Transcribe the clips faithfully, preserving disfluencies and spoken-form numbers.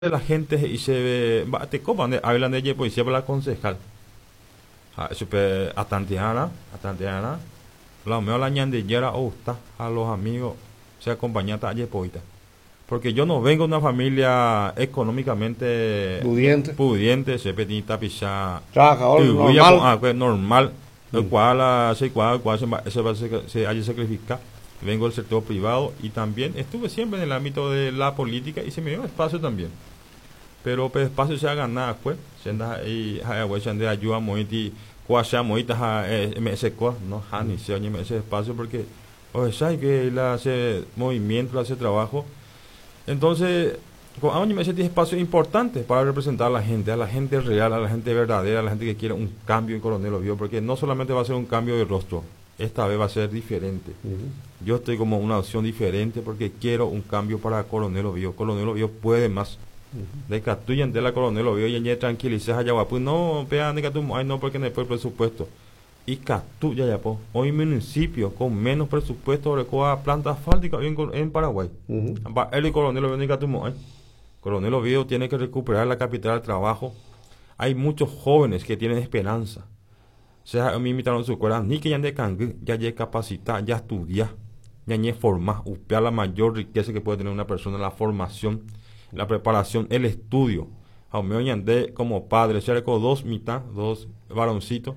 La gente he'i mba'etekópa nde Ávila ndejepoisépa la concejal. Ha chupe atantearã, atantearã, la omeo la Ñandejára ogusta a los amigos se acompañata ajepoíta. Porque yo no vengo de una familia económicamente pudiente, pudiente, che peteĩ tapicha trabajador normal, ko'ã normal, oikuaa la che aikuaa oikuaa che mba'e se ajesacrifica. Vengo del sector privado y también estuve siempre en el ámbito de la política y se me dio espacio también. Pero pe espacio che agana'akue, che ndaha'éi ha'ehague che nde ayuda moĩti kua che amoĩta ha eme'ẽse kua, no ha ni che oñeme'ẽ ese espacio porque ohechái que la ese movimiento, la ese trabajo. Entonces, ko'ã oñeme'ẽ ese espacio importante para representar a la gente, a la gente real, a la gente verdadera, a la gente que quiere un cambio en Coronel Oviedo, porque no solamente va a ser un cambio de rostro, esta vez va a ser diferente. Uh-huh. Yo estoy como una opción diferente porque quiero un cambio para Coronel Oviedo. Coronel Oviedo puede más. Uh-huh. De Catuya de la Coronel Oviedo y ya tranquiliza allá pues no, vean de Catu, ay no, porque no hay presupuesto. Y Catuya ya po, hoy municipio con menos presupuesto recoa planta asfáltica en, en Paraguay. Uh-huh. El Coronel Oviedo de ay. Coronel Oviedo tiene que recuperar la capital del trabajo. Hay muchos jóvenes que tienen esperanza. O sea, a mí me invitaron a su escuela, ni que ya de cangú, ya ya capacita, ya estudia, ya ñe forma, upea la mayor riqueza que puede tener una persona, la formación, la preparación, el estudio. A mí ñande como padre, se con dos mitad, dos varoncitos,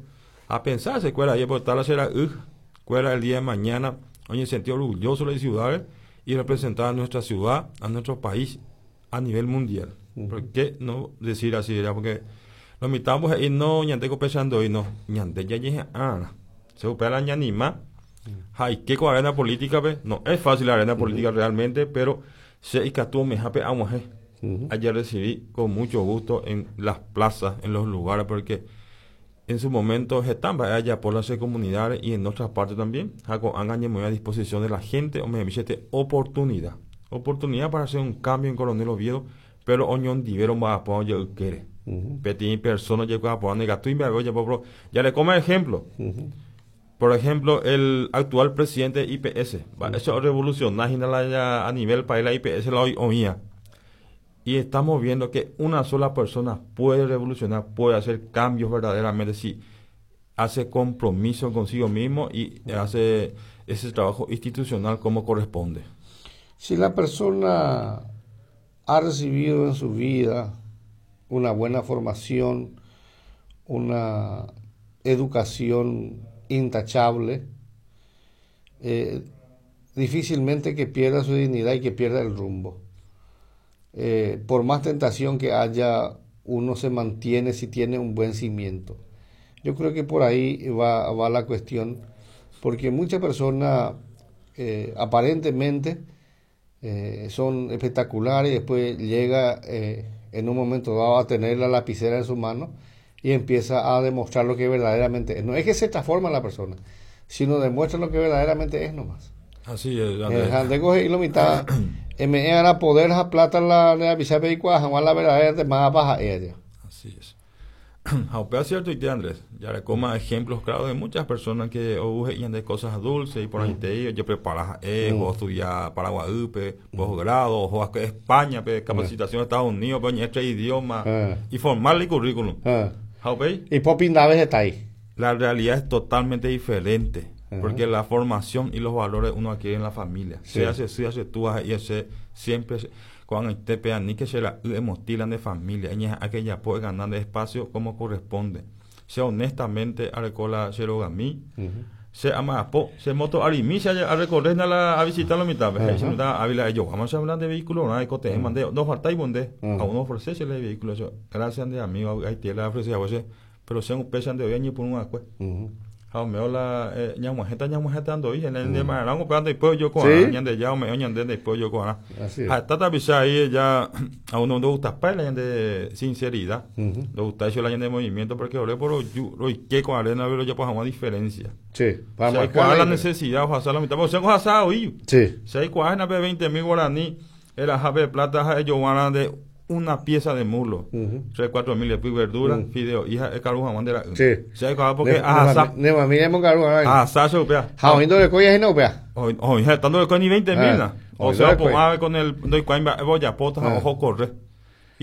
a pensar se escuela, y por tal será uh, escuela el día de mañana, oye, sentí orgulloso de la ciudad y representar a nuestra ciudad, a nuestro país a nivel mundial. Uh-huh. ¿Por qué no decir así? ¿Verdad? Porque los mitamos y no ñande pensando y no ñande ya yeje ah se upea la ñanima hay que con arena política pe no es fácil la arena política uh-huh. realmente, pero se ikatu me jape amuaje. Uh-huh. Ayer recibí con mucho gusto en las plazas, en los lugares, porque en su momento están allá por las comunidades y en otras partes también hago angañe muy a disposición de la gente o me dice oportunidad oportunidad para hacer un cambio en Coronel Oviedo, pero oñón divero más apoyo quiere. Uh-huh. Petit persona llegó a poner gato y me voy ya le come ejemplo. Uh-huh. Por ejemplo, el actual presidente de I P S, uh-huh. eso revolucionario a nivel país, la I P S la oía. Y estamos viendo que una sola persona puede revolucionar, puede hacer cambios verdaderamente si hace compromiso consigo mismo y uh-huh. hace ese trabajo institucional como corresponde. Si la persona ha recibido en su vida una buena formación, una educación intachable, eh, difícilmente que pierda su dignidad y que pierda el rumbo. Eh, por más tentación que haya, uno se mantiene si tiene un buen cimiento. Yo creo que por ahí va, va la cuestión, porque muchas personas eh, aparentemente eh, son espectaculares y después llega eh, en un momento dado a tener la lapicera en su mano y empieza a demostrar lo que verdaderamente es. No es que se transforma la persona, sino demuestra lo que verdaderamente es nomás. Así es. Andrés coge y lo mitad, me era poder la plata la lapicera y la verdadera más baja ella. Así es. Aunque cierto y te Andrés, ya le coma ejemplos claros de muchas personas que o y de cosas dulces y por ahí te yo prepara eh o estudiar Paraguay, posgrado, o a España, pe, capacitación de Estados Unidos, pe, este idioma y formar el currículum. Y Popín Daves está ahí. La realidad es totalmente diferente, porque la formación y los valores uno adquiere en la familia. Sí. Se hace, se hace tú y ese siempre cuando te pegan ni que se la emotilan de familia, ella aquella puede ganar de espacio como corresponde. Sea honestamente a recola serogami, se ama po, se moto arimi se a recorrer a la a visitar la mitad, se mitad a ellos vamos a hablar de vehículo, no hay cote, mande, no falta y bonde, a uno ofrece el vehículo eso. Gracias de amigo, ahí tiene la ofrece a vos, pero sean un pesan de hoy ni por un agua. Jaume la ñamuajeta ñamuajeta ando y en el de Marango pero después yo con ñande ya me ñande después yo con hasta tapisa ahí ya a uno no gusta para la de sinceridad, le gusta eso la de movimiento porque ore por yo y que con arena pero ya pues una diferencia. Sí, para marcar la necesidad o hacer la mitad, o sea, con asado y sí. Si hay cuajena pe veinte mil guaraní, era jabe plata ellos van de una pieza de muslo, tres, cuatro mil de verdura, uh-huh. fideo, hija, es caro jamón de la. Sí. Se porque asá. Ne mami de mongaru. Asá se upea. Jaoindo de coya y no upea. O hija, estando de coya ni veinte mil. O sea, pues con el doy cuaimba voy a pota ojo corre.